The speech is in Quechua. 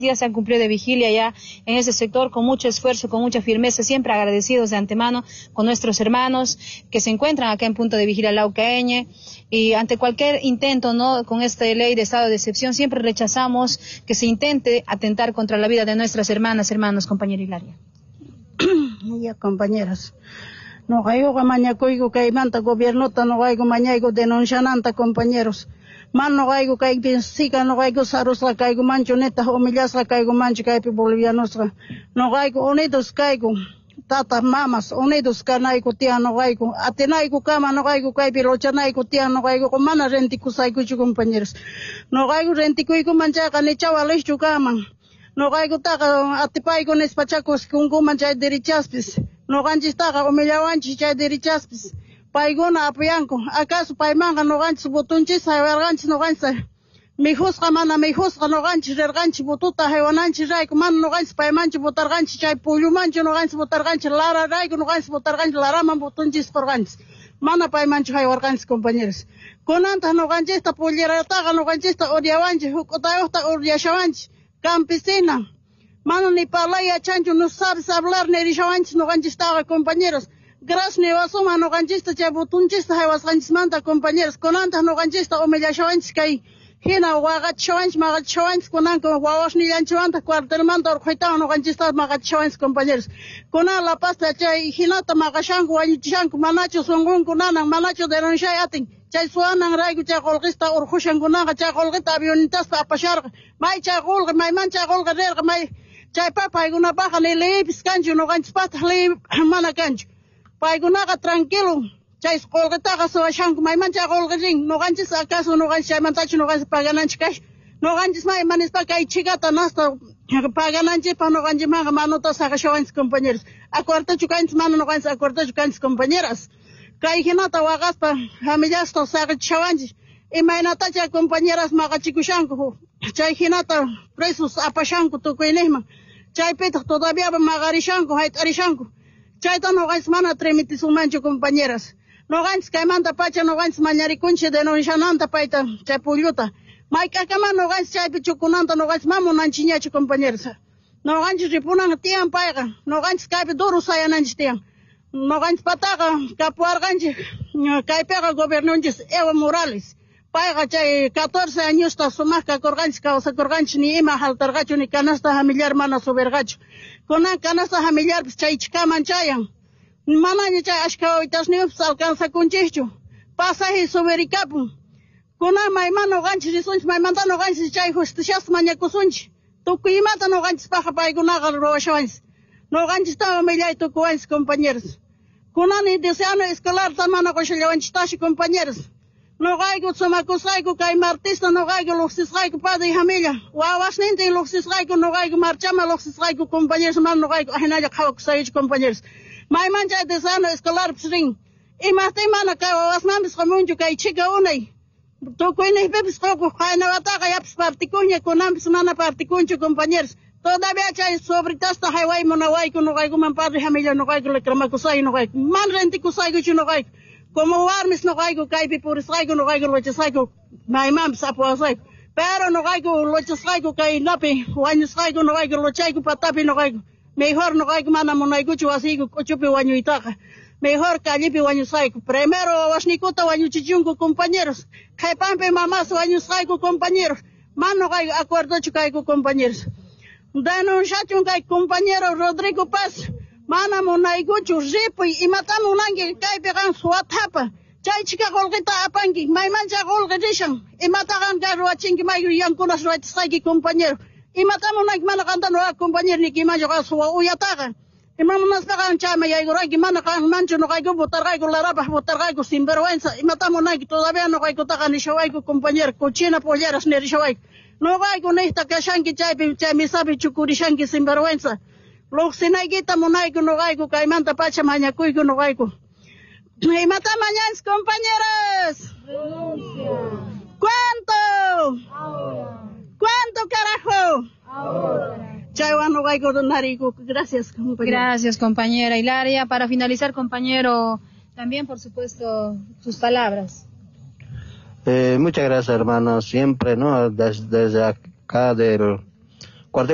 Días se han cumplido de vigilia ya en ese sector con mucho esfuerzo, con mucha firmeza, siempre agradecidos de antemano con nuestros hermanos que se encuentran acá en punto de vigilia Lauca Ñ, y ante cualquier intento, ¿no?, con esta ley de estado de excepción, siempre rechazamos que se intente atentar contra la vida de nuestras hermanas, hermanos. Compañera Hilaria. Ya, compañeras. Noqaykuqa mañakuyku kaymanta gobiernota, noqayku mañayku denunciananta, compañeros. Man noqayku kaypi sika noqayku sarusqa kaykumanchu, nitaq humillasqa kaykumanchu kaypi bolivianosqa. Noqayku unidos kayku. Tata mamas unidos kanayku tiyan noqayku. Atinayku kama noqayku kaypi luchanayku tiyan noqaykuqa, mana rentikusaykuchu, compañeros. Noqayku rentikuykuman chayqa nicha waliqchu kaman. Noqaykutaqa atipayku nispachakus kunkuman chay derechaspis. Noqanchistaqa humillawanchis chay derechaspis. Paykuna apoyanku. ¿Acaso paymanqa noqanchis votonchis haywarqanchis noqanchis? Mijusqa mana mijusqa noqanchis rirqanchis votota haywananchis rayku, mana noqanchis paymanchu votarqanchis, chay pullumanchu noqanchis votarqanchis, Lara rayku noqanchis votarqanchis, Laraman votonchis qurqanchis. Mana paymanchu haywarqanchis, compañeros. Kunantaq noqanchista pollerataqa noqanchista odiawanchis, huk'utayuqta odiashawanchis. Campesina. Mana ni parlay yachanchu, no sabes hablar nirishawanchis noqanchistaqa, compañeros. Gracias niwasuma noqanchista chay votonchista haywasqanchismanta, compañeros. Kunantaq noqanchista humillashawanchis kay hina waqachishawanchis, maqachishawanchis kunanka wawasnillanchimanta cuartelmanta urquytawan noqanchista maqachishawanchis, compañeros. Kunan La Pazta chay hinata maqashanku, wañuchishanku, manachu sunqunku nanan, manachu denunciay atin. Chay suwanan rayku chay qullqista urqushan kunanqa, chay qullqita avionetaspa apasharqa. May chay qullqi, mayman chay qullqi rirqa, may chaypa paykunapaqqa ni leypis kanchu, noqanchispaqtaq ley mana kanchu. Paykunaqa tranquilo chay qullqitaqa suwashanku, mayman chay qullqi rin, noqanchis acaso noqanchis chaymantachu noqanchis pagananchis kash. Noqanchis may manispa kay chikata nasta pagananchispaq noqanchikmanqa manuta saqashawanchis, compañeros. Acuerdochu kanchis, mana noqanchis acuerdochu kanchis, compañeras. Kay hinata waqaspa familiasta saqichishawanchis. Imaynata chay compañeras maqachikushanku, chay hinata presos apashanku tukuyniqman. Chaypitaq todavía maqarishanku, hayt'arishanku. Chayta noqanchis mana permitisunmanchu, compañeras. Noqanchis kaymanta pacha noqanchis mañarikunchis denunciananta payta chay pulluta. Mayk'akama noqanchis chaypi chukunanta noqanchis ma munanchikñachu, compañeros. Noqanchis ripunan tiyan payqa, noqanchis kaypi duro sayananchis tiyan. Noqanchis pataqa kapuwarqanchik kaypiqa gobernonchis Evo Morales. Payqa chay 14 añosta sumaq kakurqanchis, kawsakurqanchis, ni ima faltarqachu, ni canasta familiar mana subirqachu. Kunan canasta familiarpis chay chikaman chayan. Manaña chay ashka wawitasniyuqpis alcanzakunchikchu. Pasaje subirikapun. Kunan mayman noqanchis risunchis, maymanta noqanchis chay justiciasta mañakusunchis. Tukuy imata noqanchispaqqa paykunaqa ruwashawanchis. Noqanchista humillay tukuwanchis, compañeros. Kunan deseano escolar mana qushallawanchistashi, compañeros. Noqayku sumakusqayku kay martista noqayku luqsisqayku padre familia. Wawasnintin luqsisqayku noqayku marchama luqsisqayku, compañeros, mana noqayku ahinalla qhawakusaychu, compañeros. Mayman chay desano escolarpis rin. Imaqtin mana kay wawasmanpis qamunchu kay chika unay. Tukuyniqpipis qukuq qaynawataqa yapis partikuña, kunanpis mana partikunchu, compañeros. Todavía chay sobritasta hayway munawayku noqaykuman, padre familia, noqayku reclamakusay noqayku. Man rentikusaykuchu noqayku. Como warmis noqayku kaypi purisqayku noqayku luchasqayku maymanpis apuwasqayku. Pero noqayku luchasqayku kaynapi wañusqayku noqayku luchayku patapi noqayku. Mejor noqayku mana munaykuchu wasiyku k'uchupi wañuytaqa. Mejor callepi wañusqayku. Primero wawasniykuta wañuchichunku, compañeros. Qhipanpi mamás wañusqayku, compañeros. Man noqayku acuerdochu kayku, compañeros. Denunciachun kay compañero Rodrigo Paz. Mana munaykuchu ripuy, imata munanki kaypi qan suwathapa. Chay chika qullqita apanki, mayman chay qullqi rishan. Imata qan kay ruwachinki, may yankunas ruwachisqayki, compañero. Imata munanki, mana qanta nuqa compañero niykimanchu qan suwa uyataqa. Ima munaspa qan chayman yaykuranki, mana qanmanchu nuqayku votarqayku, Larapaq votarqayku, sinvergüenza. Imata munanki, todavía nuqaykutaqa nishawayku, compañero, cochina polleras nirishawayku. Nuqayku niqta kashanki chaypi, chay misapi chukurishanki, sinvergüenza. Luqsinaykita munayku nuqayku, kaymanta pacha mañakuyku nuqayku. Imata mañanchis, compañeros? Renuncia. ¿Cuánto? Ahora. ¿Cuánto, carajo? Ahora. Chaywan nuqayku nariyku. Gracias, compañera. Gracias, compañera Hilaria. Para finalizar, compañero, también, por supuesto, sus palabras. Muchas gracias, hermano. Siempre, ¿no? Desde acá del Cuartel.